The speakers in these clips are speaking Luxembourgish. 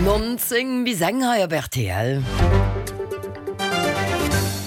19 bis eng hei op rtl.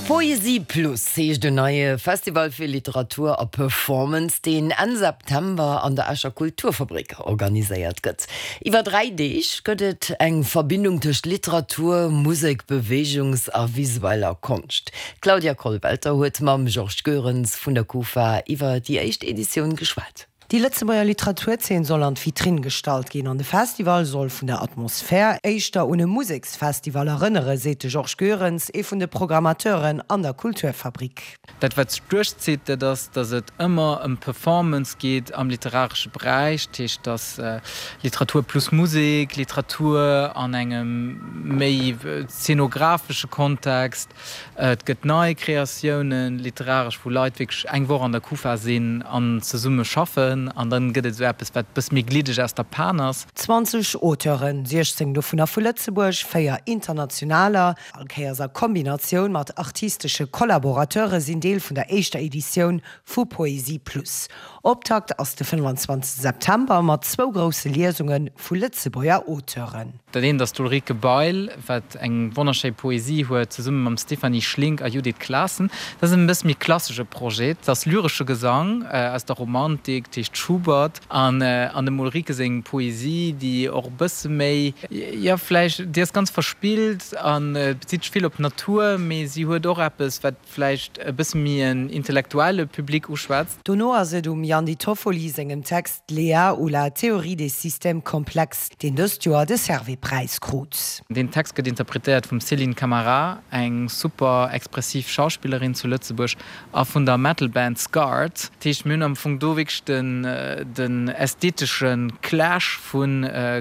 Poesie Plus heescht en neie Festival fir Literatur a Performance, deen Enn September an der Escher Kulturfabrik organiséiert gëtt. Iwwer 3 Deeg gëtt et eng Verbindung tëscht Literatur, Musek, Beweegungs a visueller Konscht. D'Claudia Kollwelter huet mam Georges Goerens vun der Kufa iwwer déi éischt Editioun geschwat. Déi Lëtzebuerger Literaturzeen soll an d'Vitrinn gestallt ginn an de Festival soll vun der Atmosphär éischter un e Museksfestival erënnere, seet de Georges Goerens, ee vun de Programmateuren an der Kulturfabrik. Dat wat sech duerchzitt, dat ass, datt et ëmmer ëm Performance geet am literaresche Beräich. Dat heescht, datt Literatur plus Musek, Literatur an engem méi zeenografesche Kontext, Et gëtt nei Kreatiounen, literaresch, wou Leit wierklech eng Woch an der Kufa sinn an zesumme schaffen. An dann gëtt et esou eppes, wat e bësse méi gliddeg aus der Pan ass. 20 Auteuren, 16 dovunner vu Lëtzebuerg, 4 internationaler, all Kéiers a Kombinatioun mat artistesche Collaborateure sinn Deel vun der éischter Editioun vu Poesie Plus. Optakt ass de 25 September mat zwou grousse Liesunge vu Lëtzebuerger Auteuren. Dat eent ass d'Ulrike Bail, wat eng wonnerschéi Poesie huet, zesumme mam Stéphanie Schlink a Judith Claassen. Dat ass en bësse méi klassesche Projet. Dat ass lyresche Gesang aus der Romantik, dat heescht Schubert. An dem Ulrike seng Poesie, déi och e bësse méi, jo vläicht, déi ass ganz verspillt a bezitt sech vill op d'Natur, mee si huet och eppes, wat vläicht e bësse méi en intellektuelle Public uschwätzt. Dono ass et um Yann Di Toffoli sengem Text Léa ou la théorie des systèmes complexes, deen dëst Joer de Servais-Präis krut. Deen Text gëtt interpretéiert vum Céline Camara, eng super expressiv Schauspillerin zu Lëtzebuerg, a vun der Metal-Band Scarred. Dat heescht, mir hunn am Fong do wierklech den ästhetesche Clash vu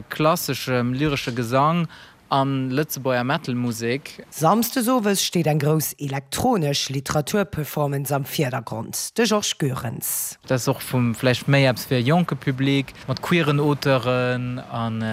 klasseschem lyresche Gesang An Lëtzebuerger Metal Musek. Samsdes owes steet eng grouss elektronesch Literaturperformance am Virdergrond, de Georges Goerens. Dat ass och vum vläicht méi eppes fir e jonke Public, mat queeren Auteuren an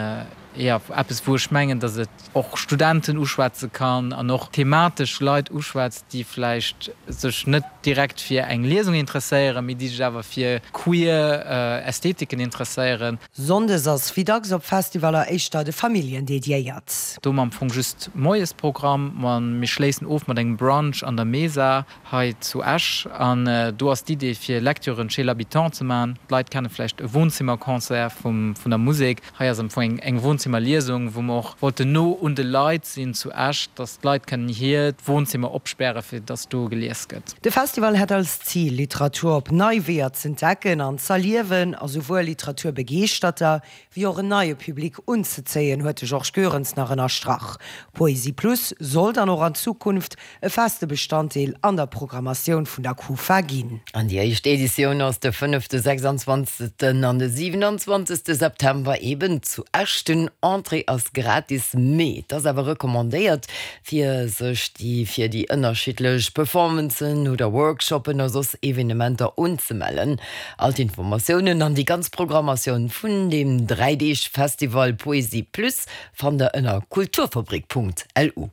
jo, eppes wou ech mengen, datt et och Studenten uschwätze kann an och thematesch Leit uschwätzt, déi vläicht sech net direkt fir eng Liesung interesséieren, mee déi sech awer fir queer Ästhetiken interesséieren. Sonndes ass wéi dacks op Festivaller éischter de Familljen dediéiert. Do hu mer am Fong just Moiesprogramm, ma mir schléissen of mat engem Brunch an der Mesa hei zu Esch. An do ass d'Idee fir Lecturen chez l'habitant ze maachen. D'Leit kenne vläicht e Wohnzimmerconcert vum vun der Musek. Hei ass am Fong eng Wohnzimmerliesung, wou mer och wollten no un de Leit sinn zu Esch, dass d'Leit kënnen hiert Wohnzimmer opspäre fir dass do gelies gëtt. De Festival hätt als Zil, Literatur op nei Weeër z'entdecken an z'erliewen a souwuel Literaturbegeeschterter wéi och en neie Public unzezéien, huet de Georges Goerens nach ënnerstrach. Poesie Plus soll dann och an Zukunft e feste Bestanddeel an der Programmatioun vun der Kufa ginn. An déi éischt Editioun ass de fënnefte, 26. an de 27. September eben zu Esch. Den Entrée ass gratis, mee et ass awer recommandéiert, fir sech déi fir déi ënnerschiddlech Performancen oder Workshoppen a soss Evenementer unzemellen. All d'Informatiounen an déi ganz Programmatioun vun deem 3 Deeg Festival Poesie Plus fannt der ënner kulturfabrik.lu.